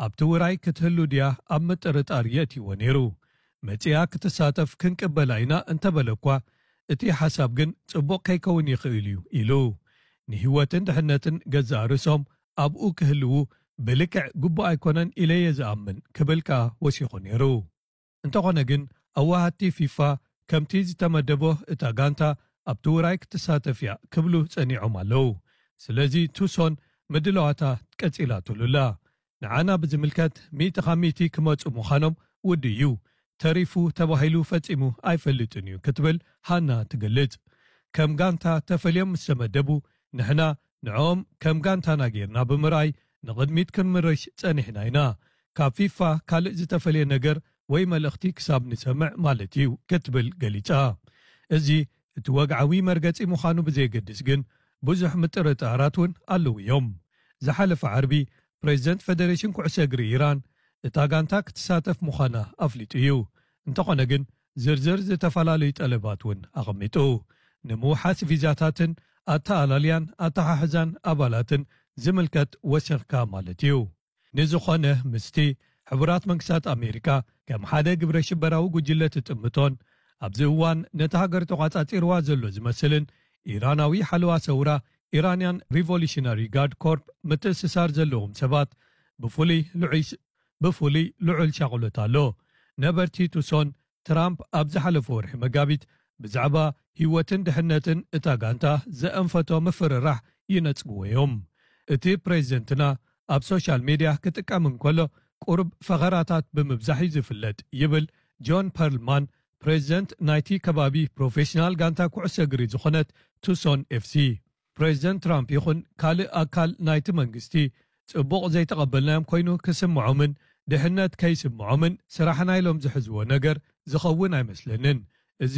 ኣብቲ ውራይ ክትህሉ ድያ ኣብ ምጥርጣር የእትይዎ ነይሩ። መጺኣ ክትሳተፍ ክንቅበላ ኢና እንተበለ እኳ፣ እቲ ሓሳብ ግን ጽቡቕ ከይከውን ይኽእል እዩ ኢሉ። ንህይወትን ድሕነትን ገዛእ ርእሶም ኣብኡ ክህልዉ ብልክዕ ግቡእ ኣይኮነን ኢለ እየ ዝኣምን ክብል ከኣ ወሲኹ ነይሩ። እንተኾነ ግን፣ ኣዋሃድቲ ፊፋ ከምቲ ዝተመደቦ እታ ጋንታ ኣብቲ ውራይ ክትሳተፍ እያ ክብሉ ጸኒዖም ኣለዉ። ስለዚ ቱሶን ምድላዋታ ቀጺላትሉ ኣላ። ንዓና ብዝምልከት፣ ሚእቲ ካብ ሚእቲ ክመጹ ምዃኖም ውዱእ እዩ። ተሪፉ ተባሂሉ ፈጺሙ ኣይፈልጥን እዩ ክትብል ሃና ትገልጽ። ከም ጋንታ ተፈልዮም ምስ ተመደቡ፣ ንሕና ንዕኦም ከም ጋንታና ጌርና ብምርኣይ ንቕድሚት ክንምርሽ ጸኒሕና ኢና። ካብ ፊፋ ካልእ ዝተፈልየ ነገር ወይ መልእኽቲ ክሳብ ንሰምዕ ማለት እዩ ክትብል ገሊጻ። እዚ እቲ ወግዓዊ መርገጺ ምዃኑ ብዘየገድስ ግን፣ ብዙሕ ምጥርጣራት እውን ኣለዉ እዮም። ዝሓለፈ ዓርቢ፣ ፕሬዚደንት ፌደሬሽን ኩዕሶ እግሪ ኢራን እታ ጋንታ ክትሳተፍ ምዃና ኣፍሊጡ እዩ። እንተኾነ ግን፣ ዝርዝር ዝተፈላለዩ ጠለባት እውን ኣቐሚጡ። ንምውሓስ ቪዛታትን ኣተኣላልያን ኣተሓሕዛን ኣባላትን ዝምልከት ወሰኽካ ማለት እዩ። ንዝኾነ፣ ምስቲ ሕቡራት መንግስታት ኣሜሪካ ከም ሓደ ግብረ ሽበራዊ ጉጅለ ትጥምቶን ኣብዚ እዋን ነቲ ሃገር ተቋጻጺርዋ ዘሎ ዝመስልን ኢራናዊ ሓለዋ ሰውራ፣ ኢራንያን ሪቮሉሽነሪ ጋርድ ኮርፕ፣ ምትእስሳር ዘለዎም ሰባት ብፍሉይ ልዑል ሽ-፣ ብፍሉይ ልዑል ሻቕሎት ኣሎ። ነበርቲ ቱሶን፣ ትራምፕ ኣብ ዝሓለፈ ወርሒ መጋቢት ብዛዕባ ህይወትን ድሕነትን እታ ጋንታ ዘእንፈቶ ምፍርራሕ ይነጽግዎ እዮም። እቲ ፕሬዚደንትና ኣብ ሶሻል ሜድያ ክጥቀም እንከሎ፣ ቁሩብ ፈኸራታት ብምብዛሕ እዩ ዝፍለጥ፣ ይብል ጆን ፐርልማን፣ ፕሬዚደንት ናይቲ ከባቢ ፕሮፌሽናል ጋንታ ኩዕሶ እግሪ ዝኾነት ቱሶን ኤፍሲ። ፕሬዚደንት ትራምፕ ይኹን ካልእ ኣካል ናይቲ መንግስቲ፣ ጽቡቕ ዘይተቐበልናዮም ኮይኑ ክስምዖምን ድሕነት ከይስምዖምን ስራሕና ኢሎም ዝሕዝዎ ነገር ዝኸውን ኣይመስለንን። እዚ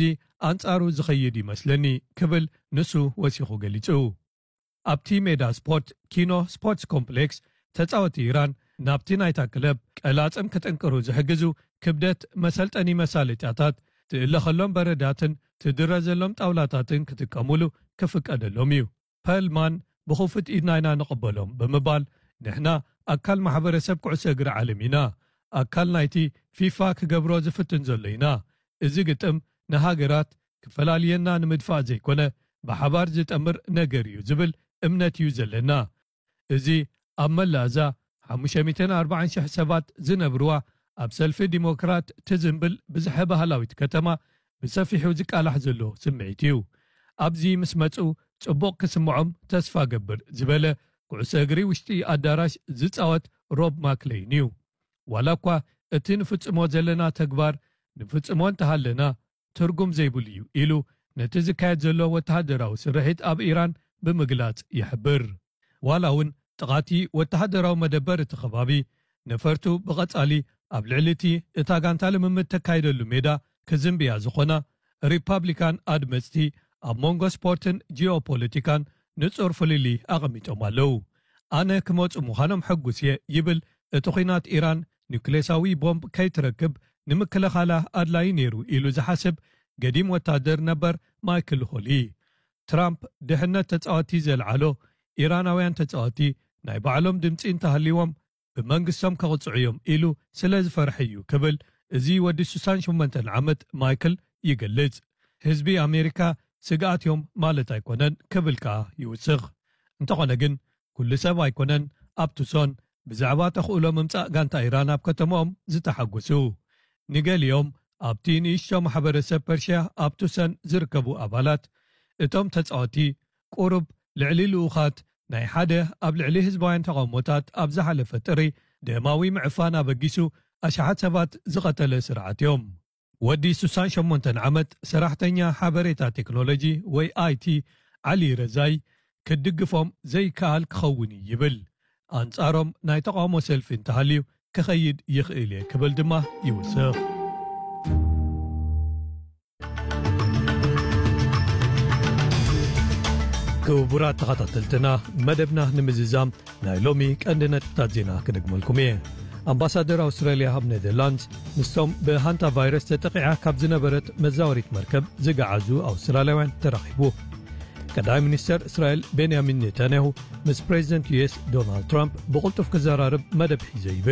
ኣንጻሩ ዝኸይድ ይመስለኒ፣ ክብል ንሱ ወሲኹ ገሊጹ። ኣብቲ ሜዳ ስፖርት ኪኖ ስፖርትስ ኮምፕሌክስ፣ ተጻወቲ ኢራን ናብቲ ናይታ ክለብ ቀላጽም ክጥንቅሩ ዝሕግዙ ክብደት መሰልጠኒ መሳለጥያታት፣ ትእለኸሎም በረዳትን ትድረዘሎም ጣውላታትን ክጥቀሙሉ ክፍቀደሎም እዩ። ፐርልማን ብኽፉት ኢድና ኢና ንቕበሎም ብምባል፣ ንሕና ኣካል ማሕበረሰብ ኩዕሶ እግሪ ዓለም ኢና። ኣካል ናይቲ ፊፋ ክገብሮ ዝፍትን ዘሎ ኢና። እዚ ግጥም ንሃገራት ክፈላልየና ንምድፋእ ዘይኮነ፣ ብሓባር ዝጠምር ነገር እዩ ዝብል እምነት እዩ ዘለና። እዚ ኣብ መላእ እዛ ሓሙሽተ ሚእትን ኣርባዓን ሽሕ ሰባት ዝነብርዋ፣ ኣብ ሰልፊ ዲሞክራት ትዝንብል ብዝሐ ባህላዊት ከተማ ብሰፊሑ ዝቃላሕ ዘሎ ስምዒት እዩ። ኣብዚ ምስ መጹ ጽቡቕ ክስምዖም ተስፋ ገብር፣ ዝበለ ኩዕሶ እግሪ ውሽጢ ኣዳራሽ ዝጻወት ሮብ ማክለይን እዩ። ዋላ እኳ እቲ ንፍጽሞ ዘለና ተግባር ንፍጽሞ እንተሃለና ትርጉም ዘይብሉ እዩ ኢሉ ነቲ ዝካየድ ዘሎ ወተሃደራዊ ስርሒት ኣብ ኢራን ብምግላጽ ይሕብር። ዋላ እውን ጥቓቲ ወተሃደራዊ መደበር እቲ ከባቢ ነፈርቱ ብቐጻሊ ኣብ ልዕሊ እቲ እታ ጋንታ ልምምድ ተካይደሉ ሜዳ ክዝንብያ ዝኾና ሪፓብሊካን ኣድመጽቲ ኣብ መንጎ ስፖርትን ጂኦፖለቲካን ንጹር ፍልልይ ኣቐሚጦም ኣለዉ። ኣነ ክመጹ ምዃኖም ሕጉስ እየ ይብል እቲ ኲናት ኢራን ኒውክሌሳዊ ቦምብ ከይትረክብ ንምክልኻላ ኣድላዪ ነይሩ ኢሉ ዝሓስብ ገዲም ወታደር ነበር ማይክል ሆሊ። ትራምፕ ድሕነት ተጻወቲ ዘልዓሎ፣ ኢራናውያን ተጻወቲ ናይ ባዕሎም ድምጺ እንተሃልይዎም ብመንግስቶም ከቕጽዑ እዮም ኢሉ ስለ ዝፈርሐ እዩ ክብል እዚ ወዲ ሱሳን ሸሞንተን ዓመት ማይክል ይገልጽ። ህዝቢ ኣሜሪካ ስግኣት እዮም ማለት ኣይኮነን ክብል ከኣ ይውስኽ። እንተኾነ ግን ኩሉ ሰብ ኣይኮነን ኣብ ቱሶን ብዛዕባ ተኽእሎ ምምጻእ ጋንታ ኢራን ኣብ ከተማኦም ዝተሓጎሱ። ንገሊኦም ኣብቲ ንእሽቶ ማሕበረሰብ ፐርሽያ ኣብ ቱሰን ዝርከቡ ኣባላት እቶም ተጻወቲ ቁሩብ ልዕሊ ልኡኻት ናይ ሓደ ኣብ ልዕሊ ህዝባውያን ተቓውሞታት ኣብ ዝሓለፈ ጥሪ ደማዊ ምዕፋን ኣበጊሱ ኣሽሓት ሰባት ዝቐተለ ስርዓት እዮም። ወዲ ሱሳን ሸሞንተን ዓመት ሰራሕተኛ ሓበሬታ ቴክኖሎጂ ወይ ኣይቲ ዓሊ ረዛይ ክድግፎም ዘይከኣል ክኸውን እዩ ይብል። ኣንጻሮም ናይ ተቓውሞ ሰልፊ እንተሃልዩ ክኸይድ ይኽእል እየ ክብል ድማ ይውስኽ። ክቡራት ተኸታተልትና፣ መደብና ንምዝዛም ናይ ሎሚ ቀንዲ ነጥብታት ዜና ክደግመልኩም እየ። ኣምባሳደር ኣውስትራልያ ኣብ ኔዘርላንድስ ምስቶም ብሃንታ ቫይረስ ተጠቒዓ ካብ ዝነበረት መዛወሪት መርከብ ዝገዓዙ ኣውስትራልያውያን ተራኺቡ። ቀዳማይ ሚኒስተር እስራኤል ቤንያሚን ኔታንያሁ ምስ ፕሬዚደንት ዩ ኤስ ዶናልድ ትራምፕ ብቕልጡፍ ክዘራርብ መደብ ሒዘ ይብል።